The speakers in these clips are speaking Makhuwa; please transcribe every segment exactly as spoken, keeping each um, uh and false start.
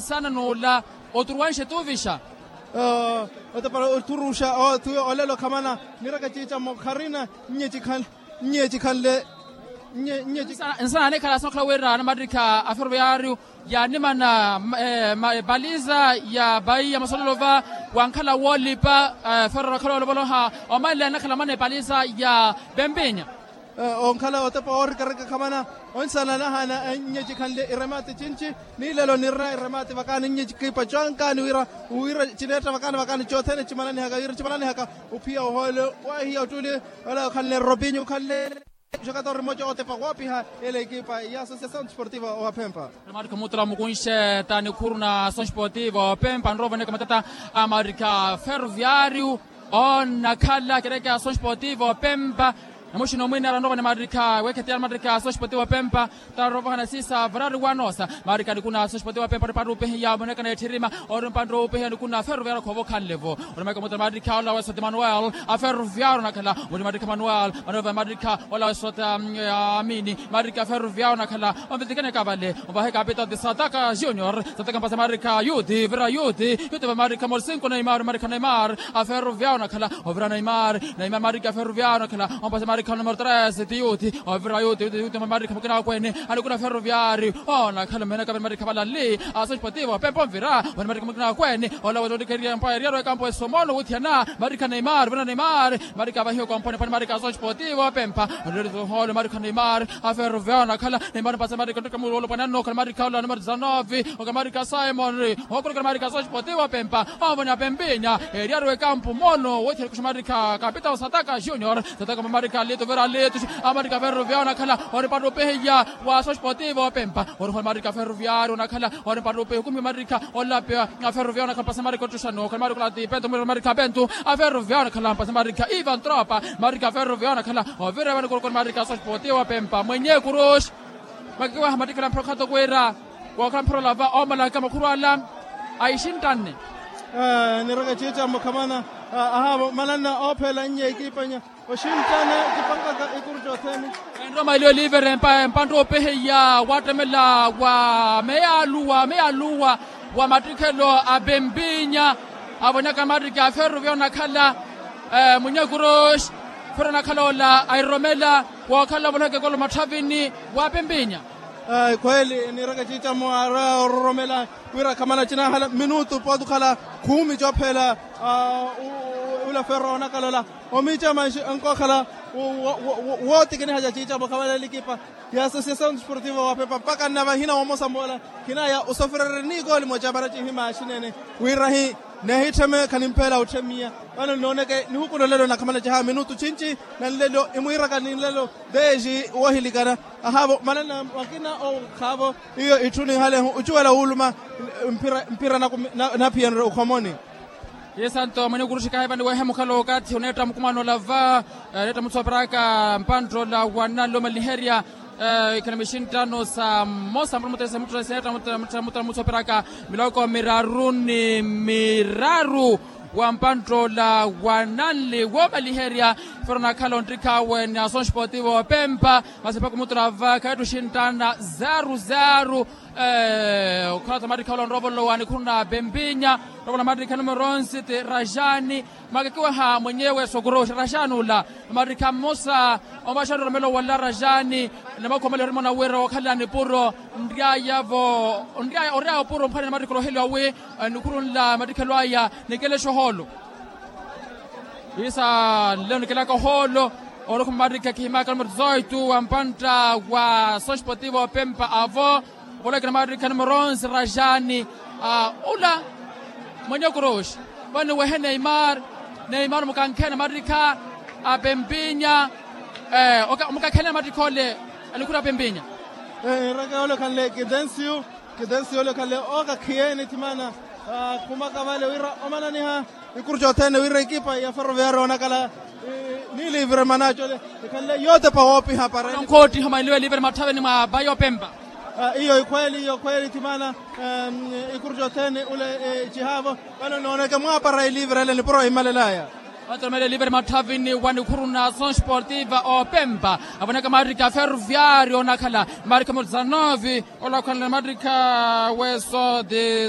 Nsana n'ula oturuwanxe tuuvixa. Otepa oturuxa. Olelo khamana. Nireke ciicammo kharina. Nnye cikhanle. Nnye cikhanle. Nnye nnye. Nsana anikhala asonkhala wira anamattikha a ferroviario yaanimana. Paliza ya bai ya masololo va wankhala woolipa. Ferro vakhala woolopoloha omanle anakhala mana epaliza ya pempinya. Onkhala otepa woorikarika khamana. Onsana nahaana nnye cikhanle iremati cinci. Ni lelo nirina iremati vakaani nnye cikipa cankani wira wira cineetta vakaani vakaani cothene cimananihaka wira cimananihaka. Uphiya ohoole wahiya ottuli. Ola okhanle robinyo okhanle. Xakatorri moca otepa woopiha ele ekipa ya associação desportiva wa pempa. Marika mutra mukunxe ta nikhuru na associação desportiva wa pempa nroovaneka matata a marika ferroviario. Onakhala kereke associação desportiva wa pempa. Namuxina omwinera nroovane marika wekhetiyana marika associação desportiva wa pempa. Tarovaha nasisa varari wanosa marika nikuna associação desportiva wa pempa ori pantu upehiya monekana etthirima. Ori mpantu upehiya nikuna ferroviario khoovo khanlevo. Ori marika mutra marika ola wesota emanuel a ferroviario onakhala. Ori marika manuel manuel marika ola wesota amini. Marika ferroviario onakhala. Omvitikaneka vale. Ovahe kapita ti sataka junior. Sataka mpasa marika yuti vira yuti. Yuti va marika morsinko neimar marika neimar a ferroviario onakhala. Ovira neimar neimar marika ferroviario onakhala. Ompasa marika numero tres ti yuti. Ovira yuti yuti yuti va marika mukina wakwene. Anikuna ferroviario onakhala mmenaka vale marika valalli. Associação desportiva wa pempa onvira vale marika mukina wakwene. Ola wetotikeria mpa eriaro ekampo esomono wuthiana. Marika neimar vira neimar. Marika vahiwa kompone pani marika associação desportiva wa pempa. Nreritoholo marika neimar. A ferroviario onakhala. Neimar mpasa marika nrika muwolo pani anokhala marika ola numero dezanove. Oka marika simon. Okurukira marika associação desportiva wa pempa. Omoni apempinya. Eriaro ekampo mono wethiana kusha marika kapita osataka junior. Sataka mamarika lito vira lito. Amarika ferroviario onakhala. Ori pantu upehiya wa associação desportiva wa pempa. Ori holo marika ferroviario onakhala. Ori pantu upehiya kumi marika. Olape a ferroviario onakhala mpasa marika ottuxano okhala marika olati pento mwira marika pento. A ferroviario onakhala mpasa marika ivan tropa. Marika ferroviario onakhala. Ovira vani kurukura marika associação desportiva wa pempa mwenye kuruxi. Makikiwaha mattikhala mphira okhatokwira. Wookhala mphira olava omalaka makhuru ala. Aixinttanne. Nireke ciicammo khamana. Ahaavo mananna oophela nnye ekipa nya. Oxinttana kipankaka ikuru cothene. Enroma eliyo livere mpantu opeheya wattemela wa meyaluwa meyaluwa wa mattikhelo a pempinya. Avonyaka mattikhi a ferro vyoonakhala. Munyakuroxi ferro onakhala ola airomela. Wookhala ovolhaka ekolo matthavini wa pempinya. Khweeli nireke ciicamo arororomela wira khamana cinahala minutu pooti okhala khumi coophela. Ula ferro onakhala ola omiica manxi onkookhala wootikiniha ca ciicamo khamana elikipa ya associação desportiva wa pempa mpaka nnavahina womosa moola. Khinaya osofrereri ni kooli moca para cihimaaxinene wira hi nehittheme khanimpeela otthemiya. Vano nnooneke nihuku nolelo nakhamana ciha minutu cinci na nlelo imwiiraka ni nlelo. Deji wohilikana ahaavo manana makina okhaavo. Iyo itthu ninhalehu ocuwela wuuluma mpira naphiyanre okhomoni. Isanto mwene kuruxikahe vani wehe mukhala okathi oneetta mukumano olava. Neetta mutsoperaka mpanttoola wa nanlomaliherya. Ikhana mixinttano sa mmosa muttesemutteseta muttesemutteseta mutsoperaka miloko miraru ni miraru. Wa mpanttoola wa nanli woomaliherya ferro onakhala onttikhawe ni associação desportiva wa pempa. Masi mpakha omutturava khaittu xinttana zaru zaru. Okhala tamattikha ola onroovolowa nikhuru na pempinya. Onroovolowa mattikha numero onse ti rajani. Makikiwaha mwenyewe sokoroxi rajani ula. Mattikha mmosa omaxani oromelo wala rajani. Namakhuwa mali orimona wira wookhalelani puro nryayavo nryaya oryaya opuro mphwanene mattikha oloheliwa wi nikhuru nla mattikhelo aya. Nikelexo ohoolo. Isa nlelo nikelaka ohoolo. Orokhuma mattikha khihimaka numero dezoito wa mpantta wa associação desportiva wa pempa avo. Ovolekela mattikha numero onse rajani. Ula mwenye kuroxi vani wehe neimar. Neimar mukankhene mattikha a pempinya. Mukankhene mattikha ole anikhuru a pempinya. Nreke ole okhanle kidensiu. Kidensiu ole okhanle okakhiyeni thimana. Khumaka vale wira omananiha ikuru cothene wira ekipa ya ferroviario onakhala ni livre manacole ikhanle yootepa woopiha para nkhoottiha omanliwe livre matthaveni mwa bayi opempa. Iyo ikhweeli iyo khweeli thimana ikuru cothene ule cihaavo. Vano nooneke mwaapara ilivre ele nipuro imalelaya. Vatoromele livre matthavini wa nikhuru na associação desportiva opempa. Avoneka mattikha ferroviario onakhala mattikha mozanovi. Ola okhanle mattikha weso de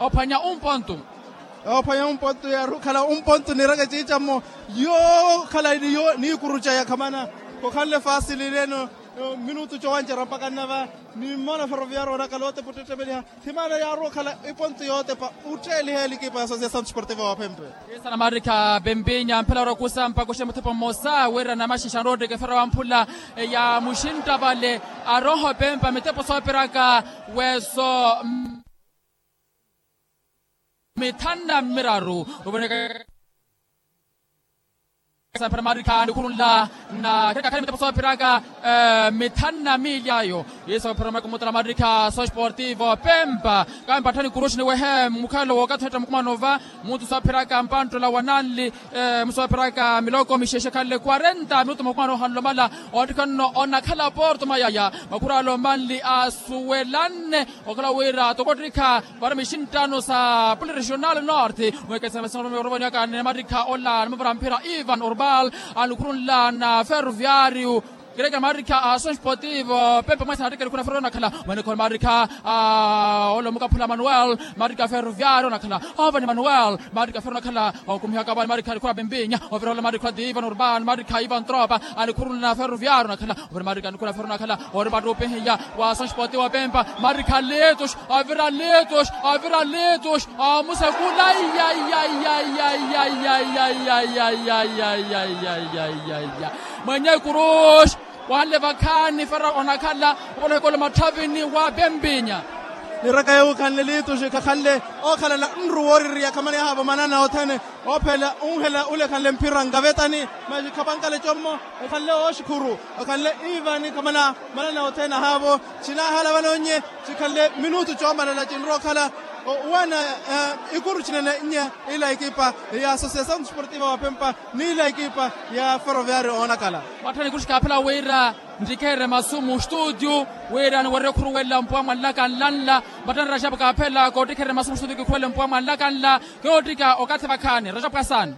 Ophwanya umpontu. Ophwanya umpontu yaaru okhala umpontu niiraka eciicammo. Yookhala niikuruca yakhamana. Khokhanle faasili leeno. Minutu cowancerya mpaka nnava. Nimmona ferroviario onakhala otepa ottettepeliha. Thimaana yaaru okhala ipontu yootepa otteeliha elikipa ya associação desportiva wa phempe. Yeesana maarikha pempinya mphela orokusa mpakuxe muthepa mmosa wira namaxixa anrotteke fera wamphula. Ya muxintta vale aroho pempa mitepo soopiraka. Weso mithanu na miraru. Ovoneka saphera maarikha nikhurunla na kherekha khale mitepo soopiraka mithanu na miili ayo. Yesu aphera makumutala maarikha sosportivo pempa. Kampatthani kuruxi niwehe mukhalo wookathi ohettha mukumano va. Muntu soopiraka mpanttola wa nanli musoopiraka miloko mixexe khanle quarenta minutu mukumano ohanlomala. Oottikha nno onakhala porto mayaya makhuralo manli asuwelanne. Okhala wira toko ottikha vari mixinttano sa poli regional norte. Mwekesa masinga orovani aka ni maarikha ola nimuvara mphira ivan urbal. Anikhurunla na ferroviario. Kerekera maarikha a associação desportivo pempa mwesa naattikha nikhuna ferro onakhala. Mwenekho maarikha ola omukaphula manuel. Maarikha ferroviario onakhala. Ovani manuel. Maarikha ferro onakhala. Okumihaka vale maarikha nikhuna pempinya ovira ola maarikha ti ivan urbal maarikha ivan tropa. Anikhurunla na ferroviario onakhala. Ovira maarikha nikhuna ferro onakhala. Ori pattupihiya wa associação desportivo pempa. Maarikha litus. Avira litus. Avira litus. Amusekula. Mwenye kuruxi. Wahanle vakhaani fera onakhala. Ovola ohikola matthavini wa pempinya. Niraka yoowo khanle litus khakhanle. Ookhalala nru wooririya khamani ahaavo manana othene. Oophela unhela ule khanle mphira nkavetani. Masi khapankale commo. Ekhanle ooxikhuru. Ekhanle iivani khamana manana othene ahaavo. Cinaahala vano nnye. Cikhanle minutu coomalela cinrowa okhala. Owana ikuru cinene nnye. Ila ekipa ya associação desportiva wa pempa n'ila ekipa ya ferroviario oonakhala. Matthani kuxikaaphela wira ntikherye masu mu studio. Wira niwerye okhuruwela mpuwa mwanlaka nlanla. Matthani rajapu kaaphela koottikherye masu mu studio kikhuwele mpuwa mwanlaka nla. Koottika okathi vakhaani rajapu kasaani.